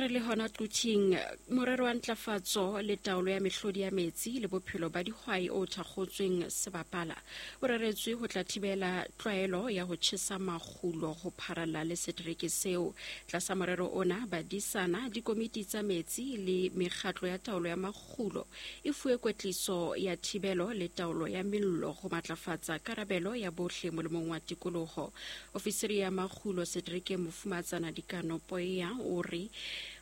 Re le hona Quthing, morero wa ntlafatso le taolo ya mehlodi ya metsi le bophelo ba dihwai o thakgotsweng sebapala o reretswe ho tla thibela tlwaelo ya ho tjhesa makgulo ho pharalla le setereke seo. Tlasa morero ona, badisana, dikomiti tsa metsi le mekgatlo ya taolo ya makgulo e fuwe kwetliso ya thibelo le taolo ya mello ho matlafatsa karabelo ya bohle molemong wa tikoloho. Ofisiri ya makgulo seterekeng Mofumatsana Dikano Poea o re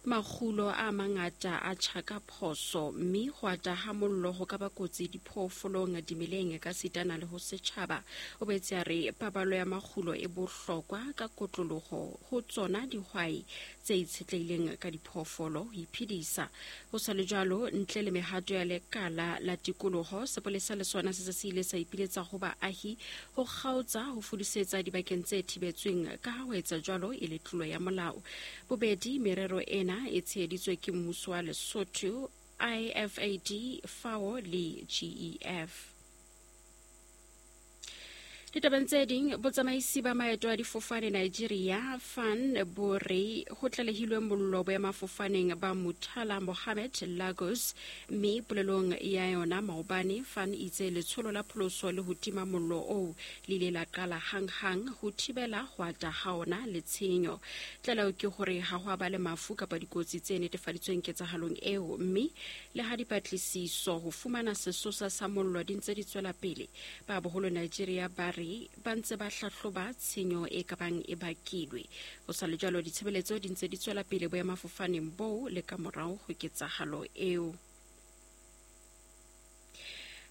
makgulo a mangata a tjha ka phoso mme ho ata ha mollo ho ka ba kotsi diphoofolong, dimeleng ka sitana le ho setjhaba. O boetse a re paballo ya makgulo e bohlokwa ka kotloloho ho tsona dihwai tse itshetlehileng ka diphoofolo ho iphedisa. Ho sa le jwalo, ntle le mehato ya lekala la tikoloho, sepolesa le sona se se se ile sa ipiletsa ho baahi ho kgaotsa ho fudusetsa dibakeng tse thibetsweng ka ha ho etsa jwalo e le tlolo ya molao. Bobedi merero ena e tsheheditswe ke mmuso wa Lesotho, IFAD, FAO le GEF. Ditabeng tse ding, botsamaisi ba maeto a difofane Nigeria FAN bo re ho tlalehilwe mollo boemafofaneng ba Murtala Mohammed Lagos, mme polelong ya yona maobane FAN itse letsholo la pholoso le ho tima mollo oo le ile la qala hanghang ho thibela ho ata ha ona le tshenyo. Tlaleho ke hore ha ho a ba le mafu kapa dikotsi tse netefaditsweng ketsahalong eo, mme le ha dipatlisiso ho fumana sesosa sa mollo di ntse di tswela pele, Ba boholo Nigeria ba re ba ntse ba hlahloba tshenyo e ka bang e bakilwe. Ho sa le jwalo, ditshebeletso di ntse di tswela pele boemafofaneng boo le ka morao ho ketsahalo eo.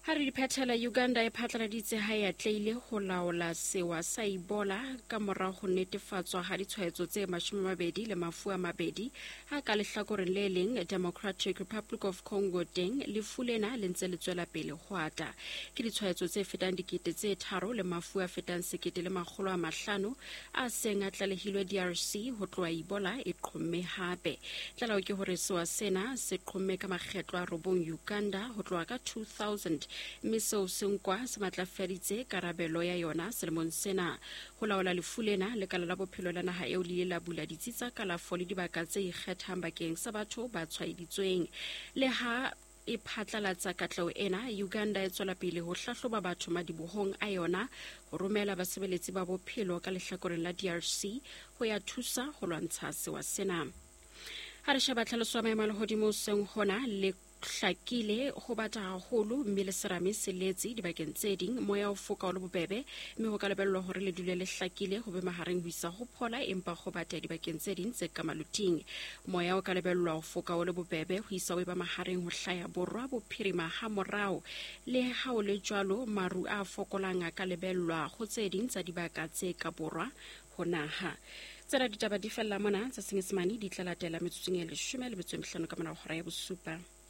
Ha re di phethela, Uganda e phatlaladitse ha e atlehile ho laola sewa sa Ebola ka mora ho netefatswa ha ditshwaetso tse 20 le mafu a mabedi. Ha ka lehlakoreng le leng, Democratic Republic of Congo teng lefu lena le ntse le tswela pele ho ata. Ke ditshwaetso tse fetang 3000 le mafu a fetang 1500 a seng a tlalehilwe DRC ho tloha Ebola e qhomme hape. Tlaleho ke hore sewa sena se qhomme ka makgetlo a robong Uganda ho tloha ka 2000 mme seo se nkwa se matlafaditse karabelo ya yona selemong sena. Ho laola lefu lena, lekala la bophelo la naha eo le ile la bula ditsi tsa kalafo le dibaka tse ikgethang bakeng sa batho ba tshwaeditsweng. Le ha e phatlalatsa katleho ena, Uganda e tswela pele ho hlahloba batho madibohong a yona ho romela basebeletsi ba bophelo ka lehlakoreng la DRC ho ya thusa ho lwantsha sewa sena. Ha re sheba tlhaloso ya maemo a lehodimo seng hona le hlakile ho bata haholo mme le serame se letse dibakeng tse ding. Moya o foka o le bobebe mme ho ka lebellwa hore le dule le hlakile ho be mahareng ho isa ho phola empa ho bata dibakeng tse ding tse ka maluting. Moya o ka lebellwa ho foka o le bobebe ho isa o eba mahareng ho hlaya borwa bophirima ha morao. Le ha o le jwalo, maru a fokolang a ka lebellwa ho tse ding tsa dibaka tse ka borwa ho naha. Tsena ditaba di fella mona, tsa Senyesemane di tla latela metsotsong e 15 ka mora hora ya bosupa.